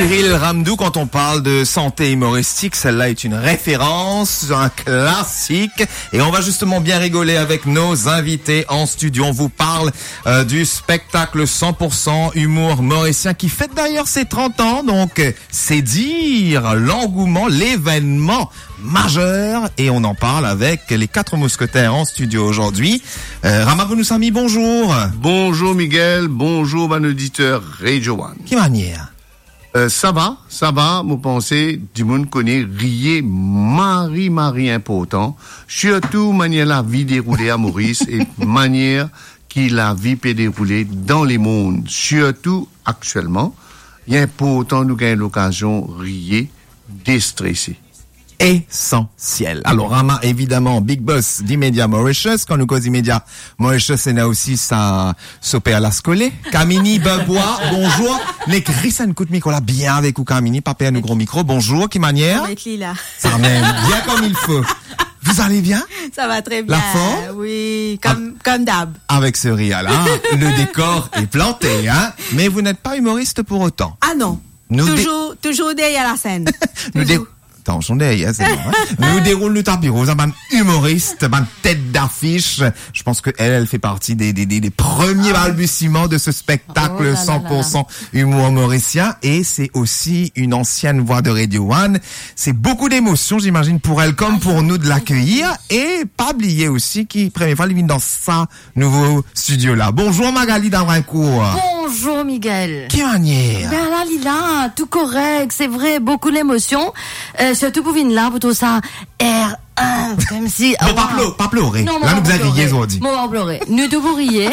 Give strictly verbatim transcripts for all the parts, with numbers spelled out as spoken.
Cyril Ramdou, quand on parle de santé humoristique, celle-là est une référence, un classique. Et on va justement bien rigoler avec nos invités en studio. On vous parle, euh, du spectacle cent pour cent humour mauricien qui fête d'ailleurs ses trente ans. Donc, euh, c'est dire l'engouement, l'événement majeur. Et on en parle avec les quatre mousquetaires en studio aujourd'hui. Euh, Rama Vounoussamy, bonjour. Bonjour Miguel, bonjour bann oditer Radio One. Ki manier? Euh, sa va, sa va, mo panse dimoun kone riye mari, mari inportan, sirtou manier lavi deroule a Moris e manier ki lavi pe deroule dan lemond, sirtou aktielman. Li inportan nou gagn lokazion riye, destrese. Esansiel. Alor, Rama, evidaman, Big Boss di Media Mauritius. Kan nou koz di Media Mauritius, ena osi sa, so perlas kole. Kamini Bebwa, bonzour. Nek ris enn kout mikro la, bien avek ou, Kamini, pa perd nou gro mikro. Bonzour, ki manier? Avek li la. Sa mem, bien comme il faut. Vous allez bien? Ça va très bien. La forme? Oui, comme, comme d'hab. Avec ce rire-là, le décor est planté, hein? Mais vous n'êtes pas humoriste pour autant. Ah non. Nou de- Toujours, toujours derrière la scène. Nou de- Toujours. Atansion deryer, se bon, hein? Nou deroul nou tapi roz, hein, bann imoris, bann tet dafis. Je pense que elle, elle fait partie des, des, des, des premiers balbutiements de ce spectacle cent pour cent humour mauricien. Et c'est aussi une ancienne voix de Radio One. C'est beaucoup d'émotion, j'imagine, pour elle comme pour nous de l'accueillir. Et pa bliye osi ki premie fwa li vinn dan sa nouvo studio la. Bonzour Magali Davrincourt. Bonzour Miguel. Ki manier? Ben la, li la, tou korek, se vre, boukou lemosion. Euh, sirtou pou vinn la, pou trouv sa R un, koumsi, bon, pa plore, pa plore. Non, la, nou bizin riye zordi. Mo pa plore. Nou tou pou riye.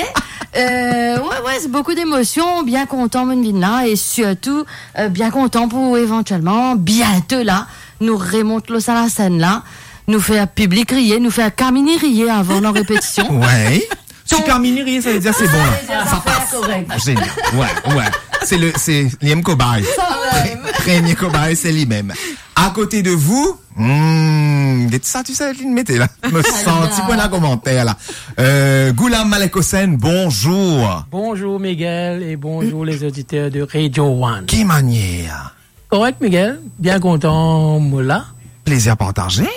Euh, ouais, ouais, se boukou lemosion, bien kontan mo'nn vinn la, e sirtou, euh, bien kontan pou evantielman, biento la, nou remont lor sa lasenn la, nou fer piblik riye, nou fer Kamini riye avan dan repetision. Ouais. Si Kamini riye, sa ve dir se bon la. Sa pas. Korek. Zenial. Ouais, ouais. Se le, se li mem kobay. Sa mem. Pre-, premie kobay, se li mem. À côté de vous, hmm, get sa, tu sais, li mete la. Mo santi pou ena komanter la. Euh, Ghulam Malek Hossain, bonzour. Bonzour Miguel et bonjour les auditeurs de Radio One. Ki manier? Korek, Miguel. Bien kontan mo la. Plaisir partagé.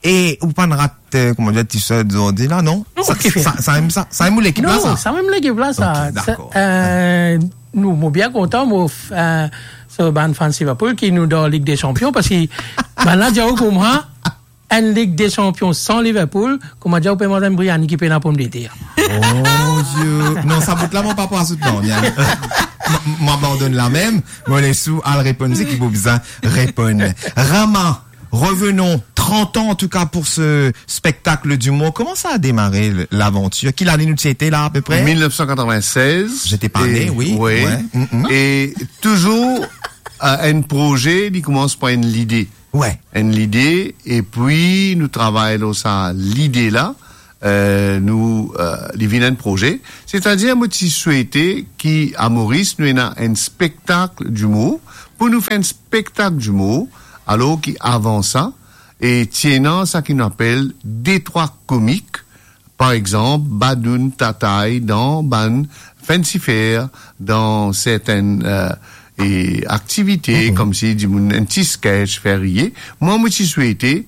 E ou pa'nn rat, euh, kouma dir, t-shirt zordi la, non? Non, sa, ki fer? Sa, sa mem sa, sa mem ou lekip la, sa? Non, sa mem lekip la, sa. Ok, dakor. Sa, euh, nou, mo bien kontan, mo, euh, so bann fan Liverpool ki nou dan Ligue des Champions, parski bann la dir ou kouma, enn Ligue des Champions san Liverpool, kouma dir ou pe manz enn briani ki pena pomdeter. Oh, Dieu. Non, sa bout la, mo pa pou azout, non, hein. Mo, mo abandonn la mem, mo les ou al reponn seki pou bizin reponn. Rama, revenons, trente ans en tout cas pour ce spectacle d'humour. Comment ça a démarré, le, l'aventure? Ki lane nou ti ete la, à peu près? Mil nef san katrovin-sez. J'étais pas né, oui. Ouais. Mm, mm. E touzour, euh, enn proze, li koumans par enn lide. Ouais. Enn lide, epi nou travay lor sa lide la, euh, nou, euh, li vinn enn proze. Setadir, mo ti swete ki a Moris, nou ena enn spektak dimour. Pou nou fer enn spektak dimour, alor ki avan sa, e ti ena sa ki nou apel detrwa komik, par exanp, badoun, tatay, dan bann fancy fair, dan sertenn, euh, e aktivite, koumsi dimoun enn ti sketch, fer riye. Mwa, mo ti swete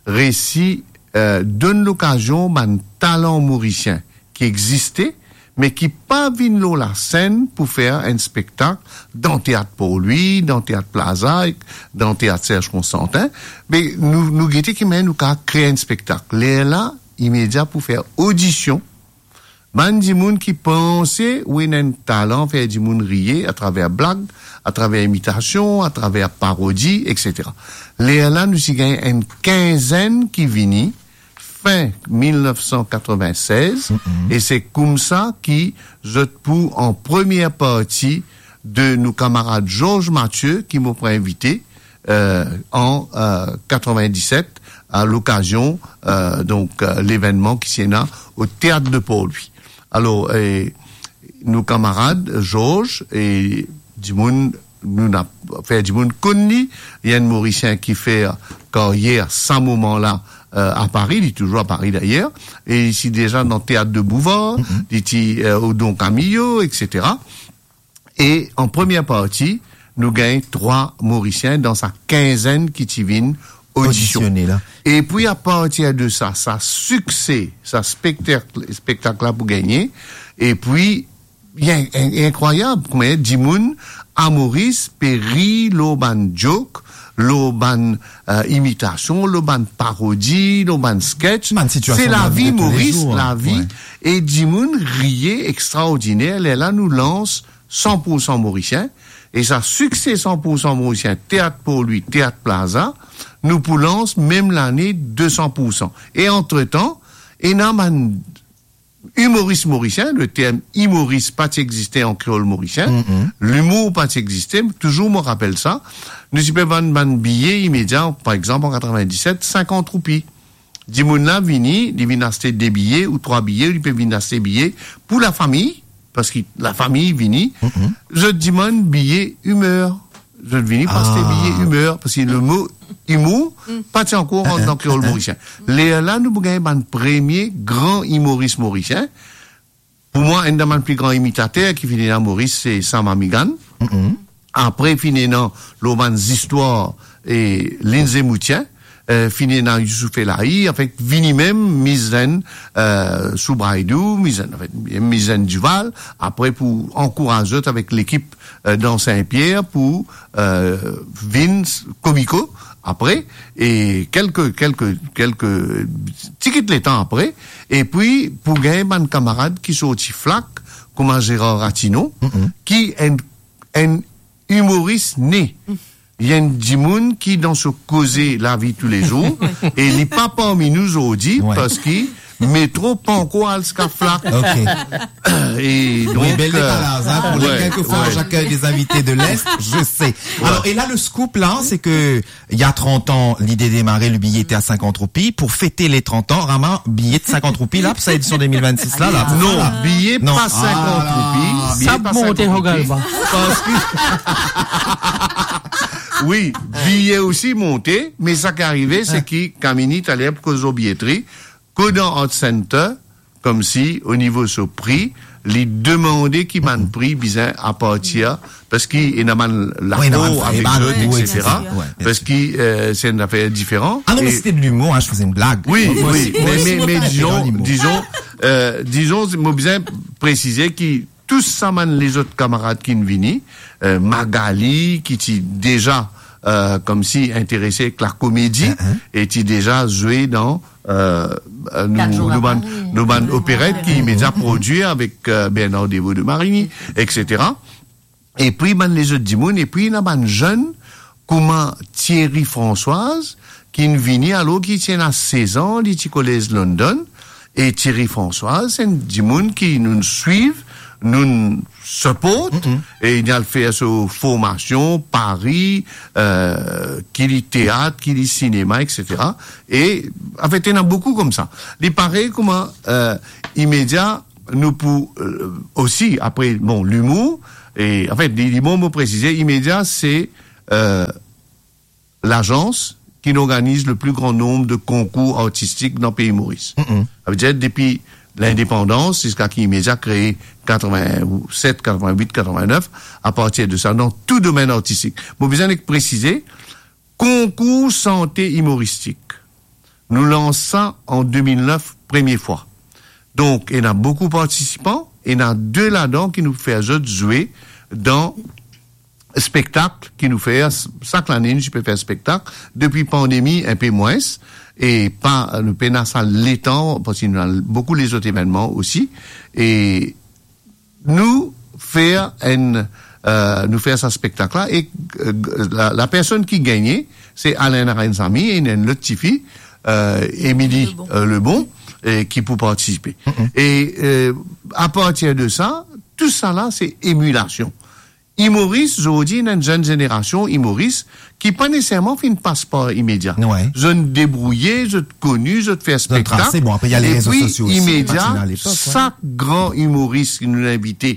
resi, euh, donn lokazion bann talan morisien ki existe, me ki pa vinn lor lasenn pou fer enn spektak dan Teat Port Louis, dan Teat Plaza, dan Teat Serge Constantin. Me nou, nou gete ki manier nou kav kre enn spektak. Lerla, imedia pou fer odision. Bann dimoun ki panse ou ena enn talan fer dimoun riye atraver blag, atraver imitasion, atraver parodi, et cetera. Lerla, nou ti gagn enn kinzenn ki vini, fin mil nef san katrovin-sez, e se koumsa ki zot pou an premie parti de nou kamarad Georges Mathieu, ki mo pou invite, euh, an, euh, katrovin-diset, a lokazion, euh, donk, euh, levennman ki ti ena o Teat de Port Louis. Alor, euh, nou kamarad Georges, e dimoun, nou ena fer dimoun konn li, li enn Morisien ki fer karyer sa moman la, euh, a Pari, li touzour a Pari dayer, e li ti deza dan Teat de Bouvard, li ti, euh, o Don Camillo, et cetera. E an premie parti, nou gagn trwa Morisien dan sa kinzenn ki ti vinn odision. Odisione la. Epi, apartir de sa, sa sikse, sa spektak-, spektak la pou gagne, epi, li in-, in-, inkrwayab, kouma dimoun a Moris pe rir lor bann joke, lor bann, eh, imitasion, lor bann parodi, lor bann sketch. Bann sitiasion de lavi toulezour, lavi. E dimoun riye extraordiner, lerla nou lans san pour san Morisien, e sa sikse san pour san Morisien, Teat pour lui, Teat Plaza, nou pou lans mem lane de san pour san. E antretan, ena bann imoris morisien, le term imoris pa ti existe an kreol morisien, limour pa ti existe, touzour mo rapel sa, nou ti pe vann bann biye Imedia, par exanp, an katrevin-diset, sinkant roupi. Dimoun la vini, li vinn aste de biye ou trwa biye, ou li pe vinn aste biye pou lafami, parski lafami vini, zot dimann biye imer. Zot vini pou aste biye imer, parski lemo imour pa ti ankor rant dan kreol morisien. Lerla nou pou gagn bann premie gran imoris morisien. Pou mwa, enn dan bann pli gran imitater ki finn ena Moris, se Sam Amigan. Apre, finn ena lor bann zistwar e Lindsay Moutien. Eh, finn ena Youssouf Elahi, anfet, vini mem mizenn, eh, Soubraidou, mizenn, anfet, mizenn Duval. Apre, pou ankouraz zot avek lekip, eh, dan Sin-Pier pou, eh, vinn komiko apre, e kelke, kelke, kelke tikit letan apre, epi pou gagn bann kamarad ki sorti Flak, kouma Gérard Ratinon, ki enn, enn imoris ne. Li enn dimoun ki dan so koze lavi toulezour, e li pa parmi nou zordi, parski metro pa ankor al ziska Flak. Ok. E donk, wi, bel, eh, dekalaz, hein, pour les, ouais, quelquefois, ouais, j'accueille des invités de l'Est, je sais. Ouais. Alors, et là, le scoop, là, c'est que il y a trente ans, l'idée démarrait, le billet était à cinquante roupies. Pour fêter les trente ans, Rama, billet de cinquante roupies, là, pour cette édition deux mille vingt-six, là, là, c'est ça, là ? Non, billet pa sinkant roupi, billet pa sinkant roupi. Sa monte, Rogalba. Parski, wi, billet osi monte, me sa ki arive, se ki Kamini, taler, pou koz lor billetri, koz dan Art Center, koumsi, o nivo so pri, li demande ki bann pri bizin apartir, parski ena bann lakor avek zot, etsetera. Wi, ena bann, ena bann, wi, etsetera. Wi, bien sir. Parski, eh, se enn zafer diferan. Ah non, mais c'était de l'humour, hein, je faisais une blague. Wi, wi, me, me, me dizon, dizon, eh, dizon, mo bizin presize ki tou sa bann lezot kamarad ki'nn vini, eh, Magali, ki ti deza, eh, koumsi interese ek lakomedi, e ti deza zwe dan, eh, nou, nou bann, nou bann operet ki Imedia prodwi avek, eh, Bernard Devaux de Marigny, etsetera. Epi bann lezot dimoun, epi ena bann zenn kouma Thierry Françoise, ki'nn vini alor ki ti ena sez an, li ti kolez London, e Thierry Françoise, se enn dimoun ki nou swiv, nou siport, e li al fer so formasion, Pari, eh, ki li teat, ki li sinema, etsetera. E, anfet, ena boukou koumsa. Li parey kouma, eh, Imedia, nou pou, eh, osi, apre, bon, limour, e, anfet, li, li bon, mo presize, Imedia, se, eh, lazans ki'nn organiz le pli gran nonb de konkour artistik dan pei Moris. Savedir, depi lindepandans ziska ki Imedia kree katrevin-set, katrevin-wit, katrevin-nef, apartir de sa, dan tou domenn artistik. Mo bizin nek presize, konkour sante imoristik, nou lans sa an de mil nef, premie fwa. Donk, ena boukou partisipan, ena de ladan ki nou fer zot zwe dan spektak ki nou fer, sak lane nou ti pe fer spektak, depi pandemi, inpe mwins, e pa, nou pena sa letan, parski nou ena boukou lezot evennman osi, e nou fer enn, eh, nou fer sa spektak la, e, eh, la, lapersonn ki gagne, se Alain Narensamy, e ena enn lot tifi, eh, Émilie, Lebon, eh, Lebon, eh, ki pou partisipe. E, eh, apartir de sa, tou sa la, se emilasion. Imoris, zordi, ena enn zenn zenerasion imoris ki pa neseserman finn pas par Imedia. Zot debrouye, zot koni, zot fer spektak. Zot trase, bon, apre, ena lerezo sosio osi, Imedia, pa ti ena alepok, sak gran imoris ki nou invite,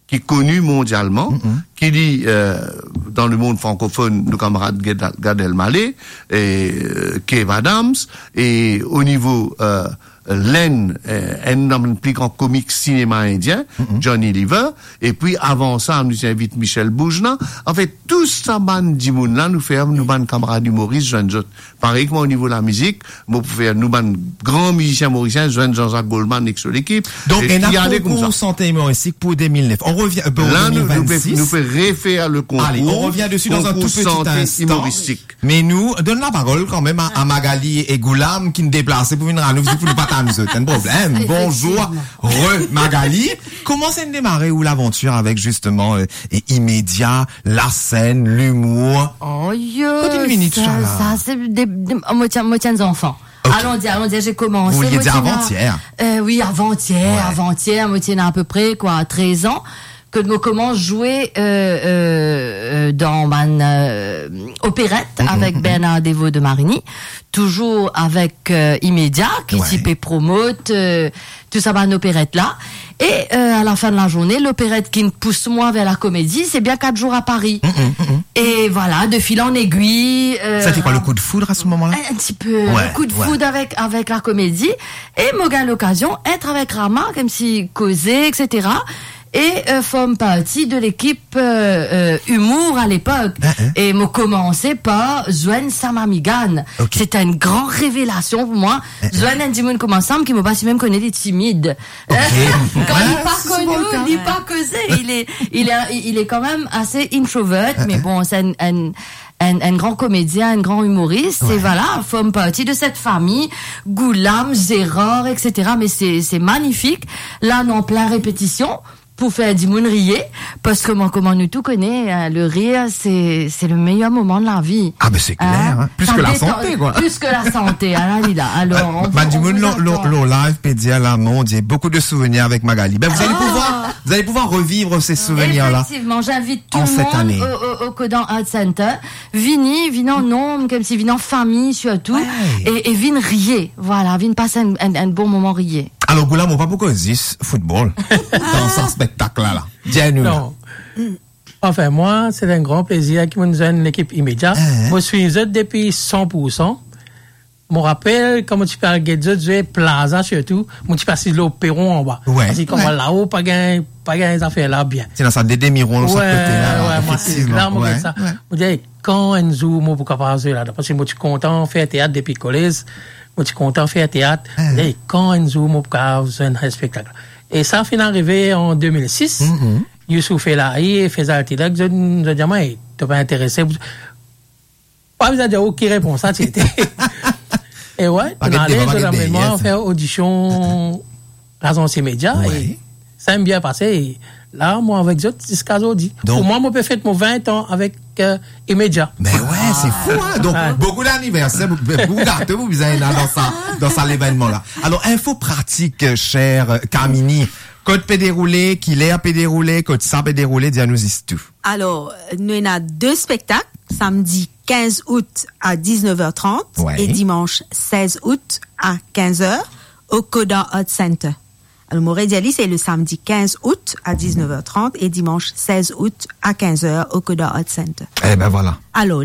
ki koni mondialman, ki li, eh, dan lemond frankofonn, nou kamarad Gad, Gad Elmaleh, eh, Kev Adams, e o nivo, eh, Lenn, eh, enn dan bann pli gran komik sinema indien, Johnny Lever, epi avan sa, nou ti invit Michel Boujna. Anfet, tou sa bann dimoun la, nou fer nou bann kamarad imoris zwenn zot. Parey kouma o nivo lamizik, mo pou fer nou bann gran mizisien morisien zwenn Jean-Jacques Goldman ek so lekip. Donk, e ena ale koumsa. Konkour sante imoristik pou de mil nef. On revien, euh, pou de mil vennsis. La, nou, nou pe, nou pe refer le konkour, konkour sante imoristik. Ale, on revien desi dan enn tou peti instan. Me nou donn laparol kanmem a, a Magali e Goulam ki'nn deplase pou vinn rann nou vizit pou nou pa tann zot. Enn problem. Efektivman. Bonzour, re Magali. Kouma sa inn demare ou lavantir avek zisteman, euh, e Imedia, lasenn, limour? Oh, yo, kote inn vini tou sa, sa la? Sa, se de, de, mo ti, mo ti enn zanfan. Ok. Alon dir, alon dir, j'ai commencé, mo ti ena, euh, oui, avantier, avantier, mo ti ena apepre, kwa, trez an. Kot mo koumans zwe, euh, euh, euh, dan bann, euh, operet avek Bernard Devaux de Marigny, touzour avek, euh, Imedia, ki ti pe promot, euh, tou sa bann operet la. E, euh, a la fin de la zourne, loperet ki'nn pous mwa ver lakomedi, se bien Quatre jours à Paris. E vwala, de fil en aiguille, euh, sa ti kwa, le coup de foudre à ce moment-là? Un, un petit peu, le coup de foudre avec, avec la comédie. E mo gagn lokazion et avek Rama, koumsi koze, et cetera. E, euh, form parti de lekip, euh, euh, imour a lepok. E mo koumanse par zwenn Sam Amigan. Ok. Se enn gran revelasion pou mwa. Zwenn enn dimoun kouma Sam ki mo pa ti mem kone li timid. Ok. Kan li pa kone ou, li pa koze. Il est, il est, il est quand même assez introvert, mais bon, c'est un, un, un, un grand comédien, un grand humoriste. E vwala, form parti de cette famille, Goulam, Gérard, et cetera. Mais c'est, c'est magnifique. La, nou an plin repetision pou fer dimoun riye, parski kouma, kouma nou tou kone, hein, le rire, c'est, c'est le meilleur moment de la vie. Ah, ben, c'est clair, hein. Plus que la santé, quoi. Plus que la santé, ah, la, li la. Alors, on vous, on vous attend. Bann dimoun lor, lor, lor live pe dir la, mon Dieu, beaucoup de souvenirs avec Magali. Ben, vous allez pouvoir, vous allez pouvoir revivre ces souvenirs-là en cette année. Effectivement, j'invite tout le monde au, au, au Codan Art Center. Vini, vini an nonb, koumsi vini an fami sirtou, e, e vinn riye. Vwala, vinn pas enn, enn, enn bon moman riye. Alor, Goulam, mo pa pou koz zis foutbol dan sa spektak la, la. Dir nou la. Non. Anfin, mwa, se enn gran plezir ki mo'nn zwenn lekip Imedia. Mo swiv zot depi san pou san. Mo rapel, kan mo ti pe al get zot zwe Plaza sirtou, mo ti pe asiz lor peron anba. Parski kan mo al lao, pa gagn, pa gagn zafer la bien. Ti ena sa de demi ron lor sak kote la, la, efektivman. Mo dir, kan enn zour mo pou kapav zwe ladan? Parski mo ti kontan fer teat depi kolez, mo ti kontan fer teat. E kan enn zour mo pou kapav zwenn enn spektak? E sa finn arive an de mil sis. Youssouf Elahi e Faisal Tilek, zot, zot dir mwa, "E, to pa interese?" Pa bizin dir ou ki repons sa ti ete. E wi, pa get deba, pa get deryer, fer odision Lazans Imedia, e sa inn bien pase, e la, mo avek zot ziska zordi. Donk, pou mwa, mo pe fet mo vin an avek, euh, Imedia. Me wi, se fou, hein? Donk, boukou laniverser, boukou gato pou bizin ena dan sa, dan sa levennman la. Alor, info pratik, euh, cher, euh, Kamini. Kot pe deroule, kiler pe deroule, kot sa pe deroule, dir nou zis tou. Alor, nou ena de spektak, samdi kinz out a diznef er trant e dimans sez out a kinz er, o Coda Art Center. Alor, mo redir li, se le samdi kinz out a diznef er trant e dimans sez out a kinz er o Coda Art Center. E ben vwala. Alor,